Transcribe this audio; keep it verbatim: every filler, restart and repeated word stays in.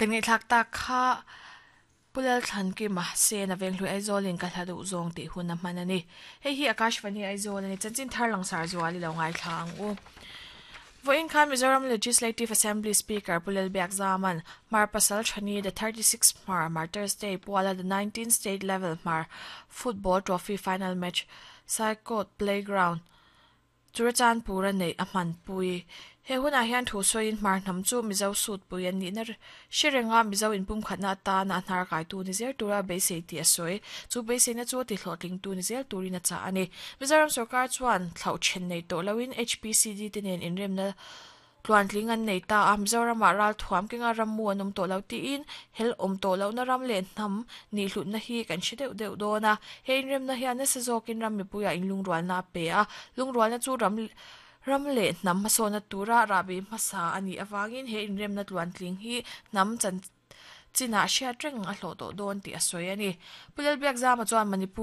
Kan ngaihthlak tak kha Pu Lalthlankima Sena Venghlui Aizawlin ka hla duh zawng tih hun a hman a ni. Hei hi Akashvani Aizawl a ni. Chanchin thar langsar zual i lo ngaithla ang u. Vawiin khan Mizoram Legislative Assembly Speaker Pu Lalbiak Zaman Hmar Pasal Thani the thirty six Hmar Martyrs Day puala the nineteen State Level Hmar Football Trophy Final Match Saikawt Playground Churachandpur a neih a hmanpui. He hunah hian thu sawiin Hmar hnam chu Mizo sutpui an nihna hre renga Mizo inpumkhatna atana a hnar kaitu ni zel tura beisei tih a sawi. Chu beiseina chu a tihlawhtlingtu ni zel turin a chah a ni. Mizoram sorkar chuan thlauh then nei tawh loin HPCD te nen inremna Tluantling an nei ta a, Mizoramah ral thuam kenga rammu an awm tawh lo tiin hel awm tawh lohna ram leh hnam nihhlutna hi kan hre deuh deuh dawn a. He inremna hian nasa zawkin ram mipuiah inlungrualna a pe a, lungrualna chu ram ram leh hnam hmasawnna tura rahbi hmasa a nih avangin he inremna tluantling hi hnam chan chinah hriat reng a hlawh tawh dawn tih a sawi a ni. Pu Lalbiakzama chuan Manipur